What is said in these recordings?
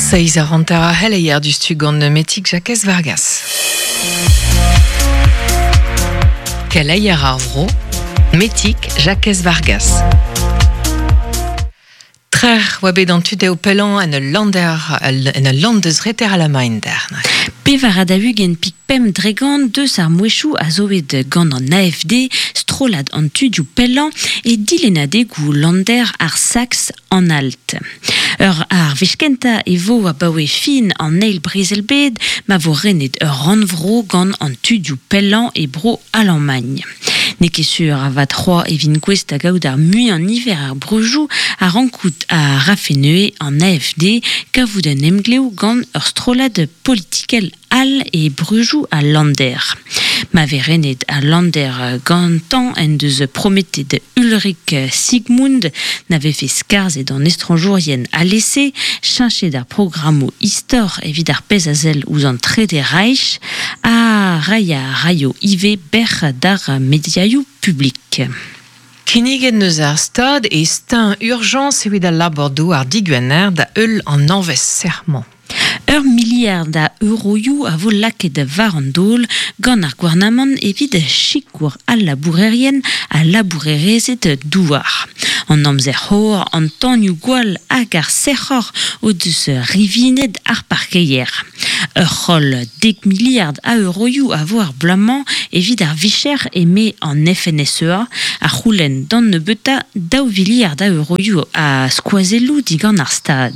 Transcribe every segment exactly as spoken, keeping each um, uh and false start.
Seiz ar hanter a c'helleier du stu gant Metik Jakez Vargas. Keleier ar vro, Metik Jakez Vargas. Trer oa bet an tudeo pelan en ul lander, en ul landeus reter a la main der. Pevar a daougen pik pemp dregant deus ar mouechou a zoet gant an A F D, strolad an tudioù pelan e dilenadegou lander ar Sax an alt. Ur ar vechkenta e vo a baoe fin an eil brezel bed ma vo renet ur rannvro gant an tudioù pelan e bro Allemagne. Ne ket sur a vat c'hoa evin gouest da gaout ar mui an niver ar brejou a rankout a rafeneue an A F D kavout un emgleo gant ur strolad politikel al e brejou a Lander. Ma ve renet a Lander gantan en deus prometet Ulrich Sigmund n'ave fait skarzet an estranjourien a lese, chinchet ar programmo istor evit ar pez azel ouz an Trede Reich, a raia raio ive ber d'ar mediaioù publik. Kinniget neus ar stad e stein urgence evit al labordou ar digwener da eul an anvez serment. Ur miliard a euroioù a vo laket war an dol gant ar gouarnamant evit sikour al labourerien a labourerezed douar. An amzer c'hor, an tanioù gwall hag ar sec'hor o deus rivinet ar parkeier. Ur c'holl dek miliard a euroioù a vo ar bloaz-mañ evit ar vicher eme an F N S E A a c'houlenn d'an nebeuta daou viliard a euroioù a skoazelloù digant ar stad.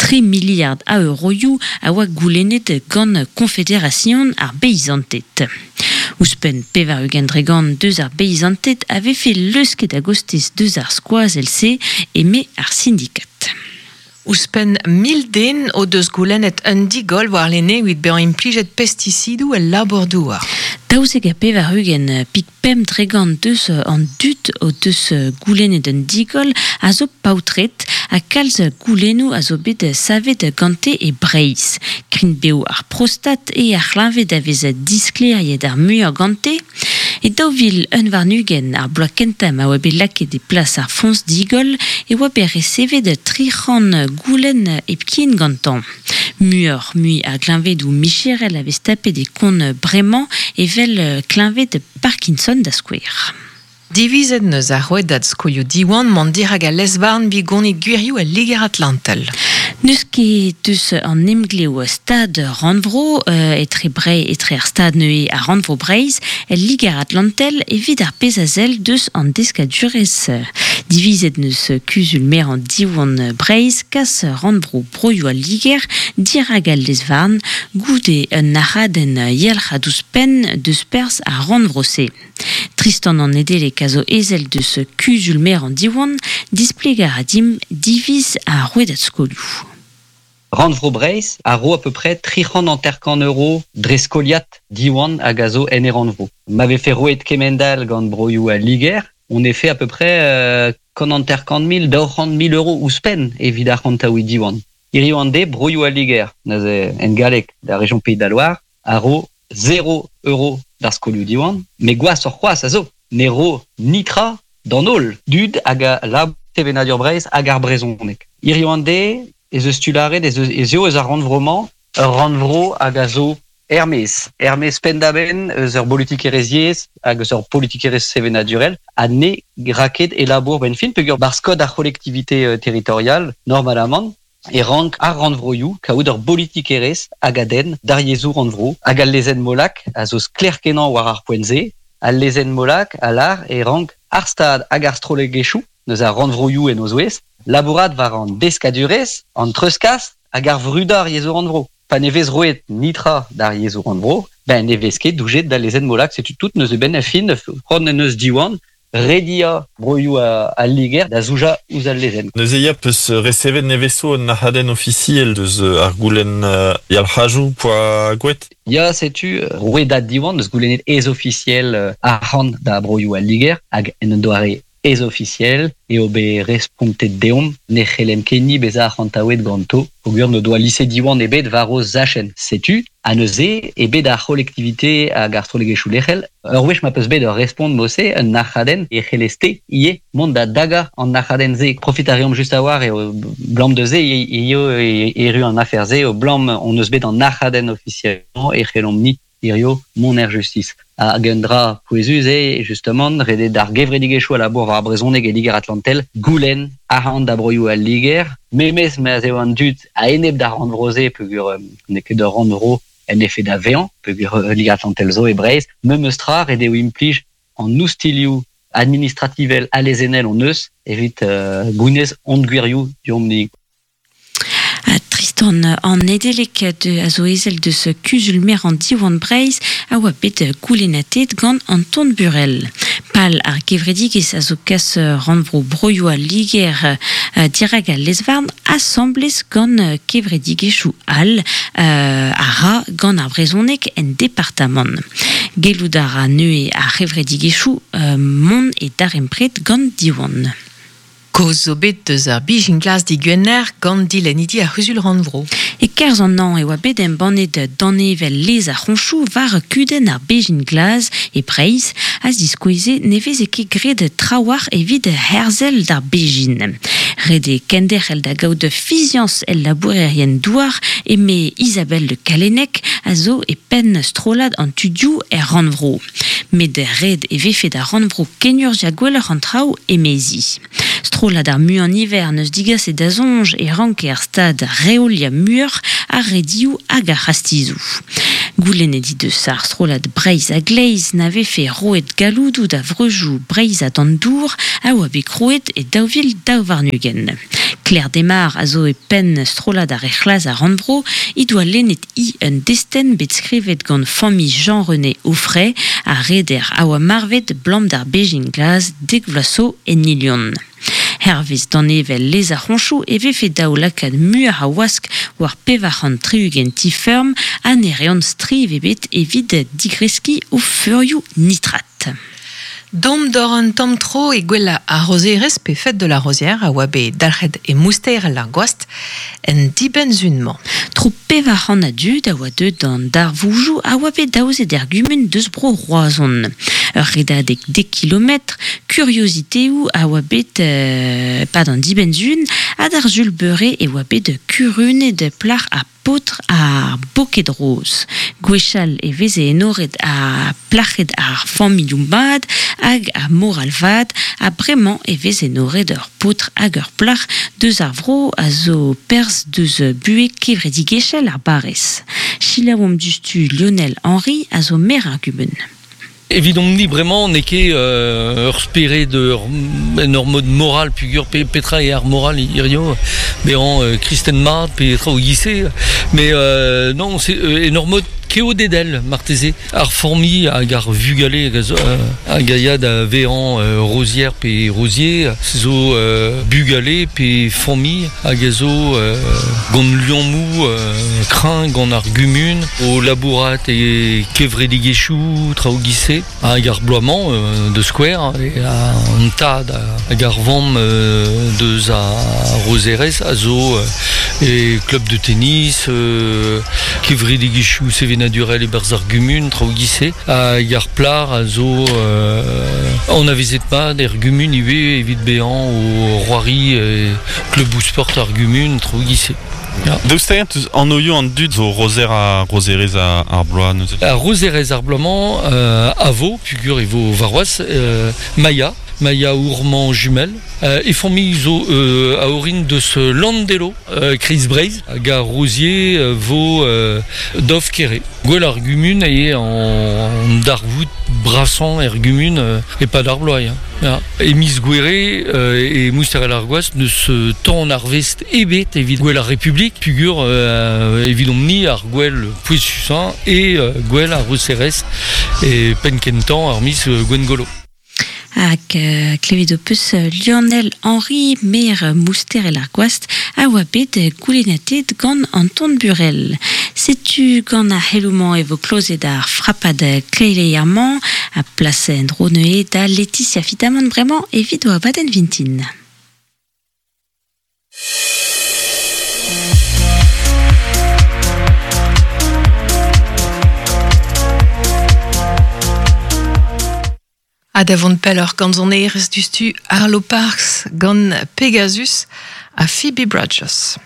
Tri miliard a euroioù a oa goulennet gant Confédération ar beizanted. Ouzhpenn pevar ugent dregant deus ar beizanted avait fait leusket a-gostez deus ar skoazell-se eme ar syndikat. Ouzhpenn mil den o deus goulennet un digol war lene evit bezañ implijet pesticidoù el labour-douar. Daouzek ha pevar ugent pik pemp dregant deus an dud o deus goulennet un digol a zo paotred ha kalz goulennoù a zo bet savet gante e Breizh. Krign beo ar prostat e ar c'hleñved a vez disklêriet ar muiañ gante. E daou vil un warn-ugent ar bloaz kentañ ma oa bet lakaet e plas ar foñs digol e oa bet resevet tri c'hant goulenn hepken gantañ. Muioc'h mui ar gleñvedoù micherel a vez tapet e kont bremañ evel kleñved Parkinson da skouer. Divizet neus ar rouedad skolioù Diwan mont dirak al lez-varn bigonit gwirioù al Liger Atlantel. Neus ket deus an emglev stad rannvro, euh, etre Brei, etre ar stad neue a rannvro Breizh, el Liger Atlantel evit ar pezh a sell deus an deskadurezh. Divizet neus kuzul mer an Diwan Breizh, kas rannvro broioù al Liger dirak al lez-varn goude un aradenn yalc'h a ouzhpenn deus perzh ar rannvro-se. Tristan an Nedeleg a zo ezel deus kuzul mer an Diwan, displegar a dim diviz ar rouedad skolioù. Rannvro Breizh a ro à peu près tri c'hant hanter-kant euro dre skoliat Diwan hag a zo en e rannvro. M'avait fait roet kemendal gant broioù a Liger, on est fait à peu près, euh, kant hanter-kant mil, daou c'hant mil euros ouzhpenn evit ar c'hantaoù Diwan. Hirio an de, broioù a Liger, neuze en galleg da région Pays de la Loire, a ro zéro euro d'ar skolioù Diwan, mais gwazh ur c'hoazh a zo, ne ro nitra d'an holl, dud hag a lab sevenadur Breizh hag ar brezhoneg. Hirio an de, ez eus tularet, ez eus, ez eo eus ar rannvro-mañ, ur rannvro hag a zo Hermès. Hermès pendaben eus ur politikerezh hag eus ur politikerezh sevenadurel, ha ne raket e labour ben fin, peogwir bar skod ar collectivité, euh, territoriale, normalement, e rank ar rannvroioù kaout ur politikerezh hag a den d'ar yezhoù rannvro, hag al lezenn Molac a zo sklaer-kenañ war ar poent-se, al lezenn Molac a lar e rank ar stad hag ar strollegezhioù, neus ar rannvroioù en o zouez, labourat war an deskadurezh, an treuzkas hag ar vrudañ ar yezhoù rannvro. Pa ne vez roet nitra d'ar yezhoù rannvro, ben ne vez ket doujet da lezenn Molac, setu tout neus e ben a fin, c'hoant en eus Diwan, redia broioù a, a Liger da zouja ouzh al lezenn. Neuze ya peus resevet neveso un ahadenn ofisiel deus ar goulenn, euh, yalc'hajoù poa gwet? Ya, setu rouedad Diwan deus goulennet ez ofisiel, euh, arc'hant da broioù a Liger hag en un doare ez officiel e obe respontet deomp ne c'hellem kenni beza arc'hantaouet ganto peogwir ne doa lise Diwan ebet war o zachenn. Setu, a neuze ebet ar c'hollektivite hag ar strollegezhioù lec'hel. Ur wech ma peus bet ur respont mose un nac'hadenn e c'hellez-te ivez mont da daga an nac'hadenn-se. Profit a reomp just a-war e o blam de se eo erru an afer-se o blam on eus bet an nac'hadenn ofisiellement e c'hellomp ni hirio mont er justice. Hag un dra pouezus eo, justement, redet d'ar gevredigezhioù a labour war ar brezhoneg e Liger Atlantel, goulenn arc'hant da broioù al Liger, memes ma'z eo an dud a-enep d'ar rannvro-se peogwir n'eo ket ur rannvro en effet da vezañ, peogwir Liger Atlantel zo e Breizh, memes tra ret eo implij an oustilioù administrativel ha lezennel hon eus evit euh, gounez hon gwirioù deomp-ni. Tristan an Nedelec de a zo ezel deus kuzul-mer an Diwan Breizh a oa bet goulennatet gant Anton Burel. Pal ar gevredigezh a zo kas rannvro broioù al Liger dirak al lezvarn asamblez gant kevredigezhioù all a ra gant ar brezhoneg en departamant. Gellout a ra neuze ar c'hevredigezhioù mont e darempred gant Diwan. Kaoz zo bet deus ar bijin glas digwener gant dilennidi ar c'huzul rannvro. E kerzh an an e oa bet embannet danevel lez ar c'honchoù war kudenn ar bijin glas e Breizh a ziskoueze ne veze ket graet trawalc'h evit herzel d'ar bijin. Ret eo kenderc'hel da gaout fiziañs el labourerien douar eme Isabelle Le Callennec a zo e penn strollad an tudioù er rannvro. Met ret e vefe da rannvro kenurzhiañ gwelloc'h an traoù emezi. Strollad ar muiañ niver neus digaset da soñj e ranke ar stad reoliañ muioc'h ar redioù hag ar c'hastizoù. Goulennet he deus ar strollad Breizh a gleiz na vefe roet galloudoù da vreujoù breizhat an dour a oa bet krouet e daou vil daou warn-ugent. Claire Desmar a zo e penn strollad ar c'hlas ar rannvro he doa lennet hi un destenn bet skrivet gant familh Jean-René Auffray a reder a oa marvet blam d'ar bejin glas dek vloaz zo en Ilion. Hervez danevel lez ar c'honchoù e vefe daou lakaat muioc'h a wask war pevar c'hant tri-ugent ti-feurm ha ne reont striv ebet evit digreskiñ o feurioù nitrat. Dom d'or un tamm tro e gwella ar rozerez pe fête de la rosière a oa bet dalc'het e mouster ar gwast en dibenn-zun-mañ. Tro pevar c'hant a dud a oa deuet d'an darvoujoù a oa bet daozet er gumun deus bro Roazhon. Ur redadeg dek kilometr, kurioziteoù a oa bet euh, pad an dibenn-zun ha d'ar sul beure e oa bet kurunet plac'h ha paotr ar boked roz. Gwechall e veze enoret a plac'hed ar familhoù mat hag ar moral vat ha bremañ e veze enoret ur paotr hag ur plac'h deus ar vro a zo perzh deus buhez kevredigezhel ar barrez. Selaouomp diouzhtu Lionel Henry a zo maer ar gumun. Evidomp-ni bremañ n'eo ket euh, ur spered ur, en ur mod moral pugur pe, petra e ar moral hirio bezañ euh, kristen mat pe tra o gise mais euh, non c'est euh, en ur mod keodedel marteze ar formi hag ar vugale hag a gaia da vezañ euh, rosière pe rosier zo euh, bugale pe formi hag a zo euh, gant liammou euh, kreñv gant ar gumun o labourat e kevredigezhioù tra o gise hag ar bloaz-mañ euh, de square e an tad hag ar vamm euh, deus a rozerez a zo euh, e club de tennis euh, kevredigezhioù sevenadurel e berzh ar gumun tra o gise hag ar plar a zo euh, an avezet mat er gumun ivez evit bezañ o roari e club ou sport ar gumun tra o gise. Ja. Daoust hag an oioù an dud zo rozer a rozerez a ar bloaz neuze? A rozerez ar bloaz-mañ euh, a vo, pugur e vo varroaz, euh, Maya, Maya Ourmand jumelle, euh, e familh zo euh, a orin deus Landelo, euh, Kreiz Breizh, hag ar Rosier euh, vo euh, Dov Kere. Gwell ar gumun eo an, an darvoud brasañ er gumun euh, e pad ar bloaz. Hein. Ja. E miz Gouere euh, e Mousterel ar Gwast neus euh, tamm arvest ebet evit gwell ar Republik, pugur euh, evidomp-ni ar gwell pouezusañ e euh, gwell ar Roserez e penn kentañ ar miz euh, Gwengolo. Hag euh, klevet ho peus Lionel Henry, maer Mousterel ar Gwast, a oa bet goulennatet gant Anton Burel. Setu gant ar c'heloù-mañ e vo klozet ar frapad kleileier-mañ a plas en dro neuze da Laetitia Fitamant bremañ evit o abadenn vintin. Ha da vont pelloc'h gant sonerezh dustu Arlo Parks gant Pegasus ha Phoebe Bridgers.